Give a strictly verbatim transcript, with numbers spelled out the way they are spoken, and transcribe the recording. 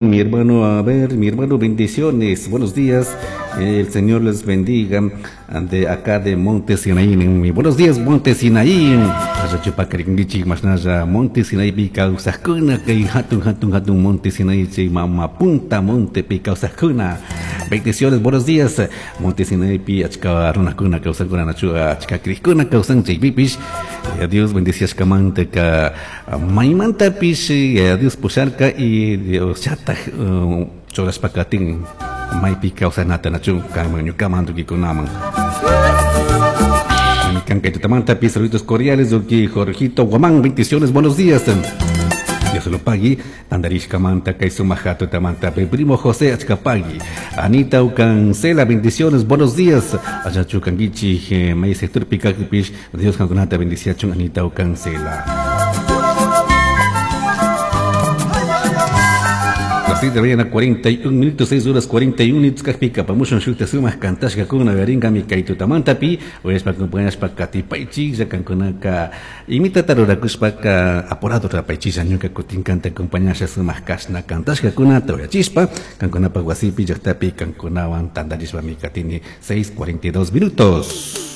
Mi hermano, a ver, mi hermano, bendiciones. Buenos días. El Señor les bendiga de acá de Monte Sinaí. Buenos días, Monte Sinaí. Monte Sinaí pi kawsajkuna kay hatun hatun hatun Monte Sinaí chay mama punta monte pi kawsajkuna. Bendiciones, buenos días. Monte Sinaí pi achka runakuna kawsankuna nachu achka krikkuna kawsan chaypipish. Dios bendiciashkamanta ka maymantapish Dios pusharka y Dios chataj churashpakatin maypi kawsanata nachu kanman ñukaman tukikunaman. Kankaytutamanta saluditos cordiales, Doki Jorgito Guamán, bendiciones, buenos días. Dios lo pague, Tandarishkamanta, kay sumajato tamanta, primo José Achkapagui, Anita Ucancela, bendiciones, buenos días. Ayachu Kangichi, may sector Picapish, Dios kankunata bendiciachun, Anita Ucancela. Las seis de la mañana, cuarenta y un minutos, seis horas cuarenta y un minutos, kajpika, pamushon shukta sumaq kantashkakuna, yaringami kay tutamantapi, uyashpa acompañashpa katipaychik, llakankunaka, imitata rurakushpaka, apurado rapaychik, ñuka kutin kanta acompañasha sumaq kashna kantashkakunata uyachispa, kankunapa wasipi, llaqtapi, kankunawan tantarishpa mi katini, seis cuarenta y dos minutos.